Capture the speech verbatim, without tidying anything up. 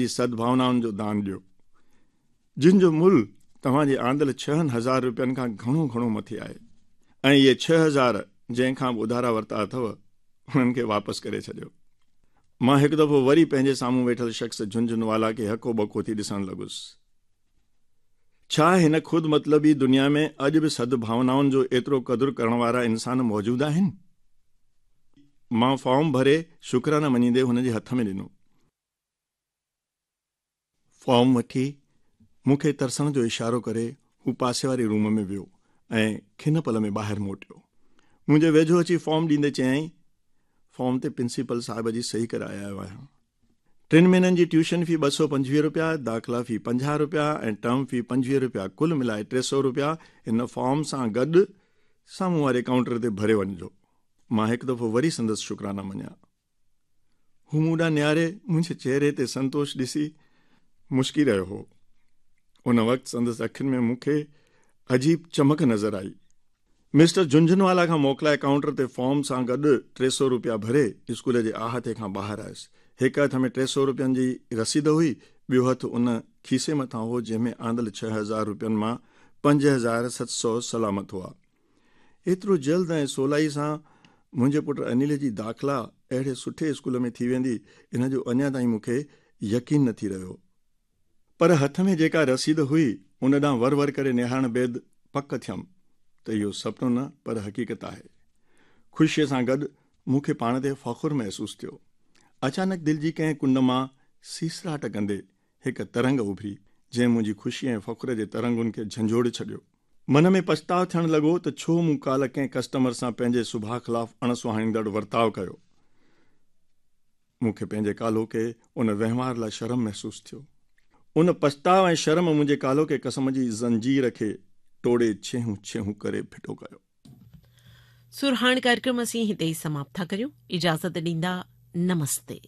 جي سدڀاونائن جو دان ڏيو، جن جو ملهه توهان جي آندل ڇهن هزار رپين کان گهڻو گهڻو مٿي آهي ۽ اهي ڇهه هزار جنهن کان به اڌارا ورتا اٿو، انهن کي واپس ڪري ڇڏيو. مان هڪ دفعو وري پنهنجي سامهون ويٺل شخص جهنجهنوالا کي هڪو ٻڪو ٿي ڏسڻ لڳس. ڇا هن خود مطلبي دنيا ۾ اڄ به سدڀاونائن جو ايترو قدر ڪرڻ وارا انسان موجود آهن؟ مان فارم ڀري شڪرانا مڃيندي هن جي هٿ ۾ ڏنو. فارم وٺي مون کي ترسڻ جو اشارو ڪري هو پاسي واري روم ۾ ويو ۽ کن پل ۾ ٻاهر موٽيو. منهنجي ويجهو اچي فارم ڏيندي چيائين، فارم تي پرنسپل صاحب جي صحيح ڪرائي آيو آهيان. ٽن مهينن جي ٽيوشن في ٻه سؤ پنجويهه رپيا، داخلا في پنجاهه رپيا ۽ ٽرم في پنجويهه رپيا ڪل ملائي ٽي سؤ رپيا هن فارم سان گڏ سامهون واري ڪائونٽر تي ڀري وڃجو. مان هڪ دفعو وري سندس شڪرانا مڃيا. هو مون ڏانهن نهاري منهنجي چهري تي سنتوش ڏسي مشڪي رهيو هو. ان وقت سندس اکين ۾ مون کي عجيب چمڪ نظر آئي. مسٽر جهنجهنوالا کان موڪلائي ڪائونٽر تي فارم سان گڏ ٽي سؤ روپيا ڀري اسڪول جي احاطي کان ٻاهر آيس. هڪ هٿ ۾ ٽي سؤ روپين جي رسيد هئي، ٻيو هٿ ان کيسي مٿان هو جنهن ۾ آندل ڇهه هزار روپين مان پنج هزار ست سؤ سلامت هئا. ايترو جلد ۽ سولائي سان منهنجي پٽ انيل جي داخلا اهڙي سٺي اسڪول ۾ ٿي ويندي، ان جو اڃا تائين مون کي يقين نه ٿي رهيو. پر هٿ ۾ جيڪا رسيد هئي، ان ڏانهن ور ور ڪري نهارڻ بعد پڪ ٿيم ته اهو سپنو نه پر حقيقت آهي. خوشيء سان گڏ مون کي پاڻ تي فخر محسوس ٿيو. اچانڪ دل جي ڪنهن ڪنڊ مان سيسراٽ ڪندي هڪ ترنگ اڀري، جنهن منهنجي خوشيء ۽ فخر جي ترنگن کي جهنجهوڙي ڇڏيو. من ۾ پڇتاء ٿيڻ لڳو ته ڇو مون ڪالهه ڪنهن ڪسٽمر سان پنهنجي سڀاء خلاف اڻ سهائيندڙ ورتاء ڪيو. مون کي پنهنجي ڪالهوڪي ان وهنوار لاء شرم محسوس ٿيو. ان پڇتاء ۽ شرم منهنجي ڪالهوڪي قسم جي زنجير کي ٽوڙي ڇيهون ڇيهون ڪري ڦٽو ڪيو. سرهاڻ ڪاريڪرم اسين هتي ئي سماپت ٿا ڪريون. اجازت ڏيندا. نمستي.